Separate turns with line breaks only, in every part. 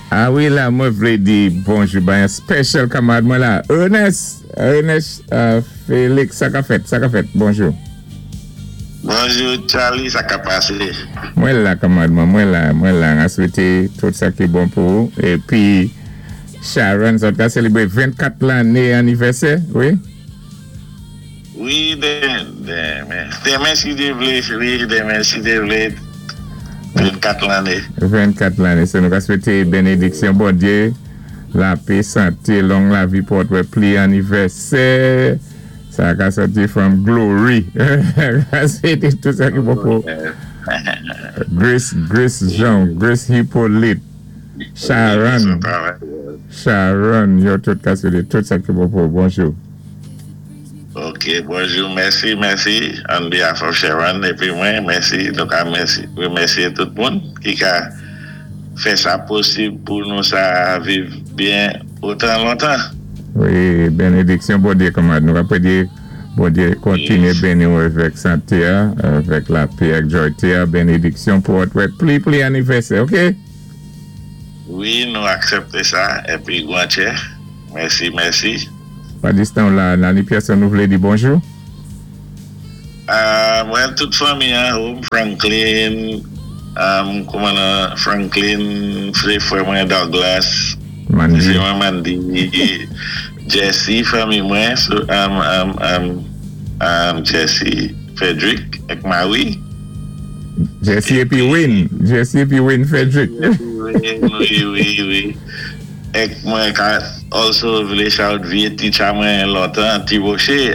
A wi, la, mwen vlé di bonjou bay an special kanmarad mwen la, Ernest, Ernest Félix, sa ka fèt, sa ka fèt, bonjou.
Bonjou Charlie, sa ka pasé?
Mwen la, kanmarad mwen, mwen la, mwen la, an swété tout sa ki bon pou ou. Épi, Sharon, sa ka sélébré 24 lanné anivèsè, wi?
Wi, denmen, denmen si Dye vlé, wi, denmen si Dye vlé, 24 lanné.
24 lanné, so nou ka swété bénédiksyon Bondyé, lapè, santé, long lavi pou wè pli anivèsè, sa ka sòti from glory. Ka swété tout sa ki bon pou Grace, Grace Jean, Grace Hippolyte, Sharon, Sharon, yo tout ka swété tout sa ki bon pou. Bonjou.
Ok, bonjou, mèsi, mèsi, on behalf of Sharon, épi mwen, mèsi, nou ka mèsi, remèsyé tout moun ki ka fè sa posib pou nou sa viv byen otan lontan.
Wi, bénédiksyon Bondyé, kanmarad. Nou ka pédé Bondyé kontinyé béni ou avèk santé, avèk lapè ak jwa, bénédiksyon pou wè pli pli anivèsè, ok?
Wi, nou aksépté sa, épi gwanchè, mèsi, mèsi.
Padistan la, Nani Pierre, nou vlé di bonjou?
Mwen, tout fanmi an, home Franklin, kouman nan Franklin, frè frè mwen Douglas,
Mandy.
Frè mwen Mandy, Jesse, fanmi mwen, so, Jesse, Frederick, ek Marie.
Jesse épi Wayne, Jesse épi Wayne Frederick.
Wi. Ek mwen ka also vlé shout vyé teacher mwen lontan, Tiroche,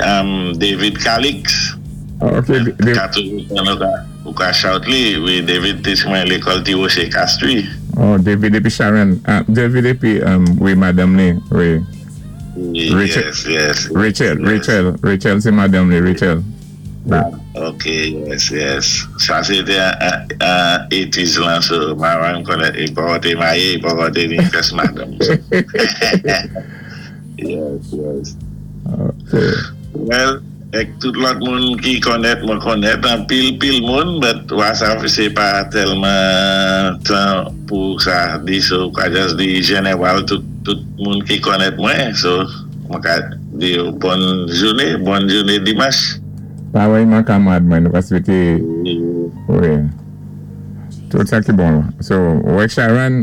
David Calix.
Ok.
Ka toujou tan nou ka, ou ka shout li, wi, David teach mwen lékòl Tiroche Castries.
Oh, David épi Sharon, ah, David épi, wi, madanm ni, wi. Rachel, Rachel, Rachel, Rachel, sé madanm ni, Rachel.
Ok, yes. Sa sé té an 80s lan, so maman konnen, i pa té maryé, i pa té ni first madanm. Yes.
Ok.
Well, ek tout lòt moun ki konnèt, mwen konnèt an pil pil moun, but WhatsApp sé pa tèlman tan pou sa di, so ka just di jeneral tout, tout moun ki konnèt mwen, so mwen ka di yo bòn jouné, bòn jouné dimanch.
Parèyman, kanmarad mwen, nou ka swété, wi, tout sa ki bon. So, wè Sharon,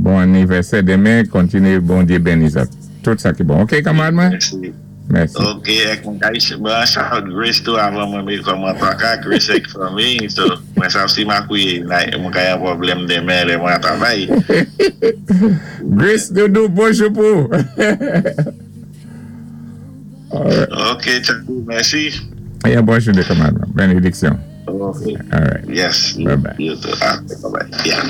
bon anivèsè denmen, kontinyé Bondyé béni sa. Tout sa ki bon. Ok, kanmarad mwen?
Mèsi.
Mèsi.
Ok, ek mwen ka bon, shout Grace tou avan mwen mé kòman pa Grace ek fanmi, so mwen sa si makouye, mwen ka yon pwoblèm denmen lè mwen travay.
Grace Doudou, bonjou pou. Alright.
Ok, tchao, mèsi.
Yeah, bonjou dé kanmarad mwen. Bénédiksyon.
Ok.
Alright.
Yes.
Bye bye.
You too. Ah, bye bye. Yeah.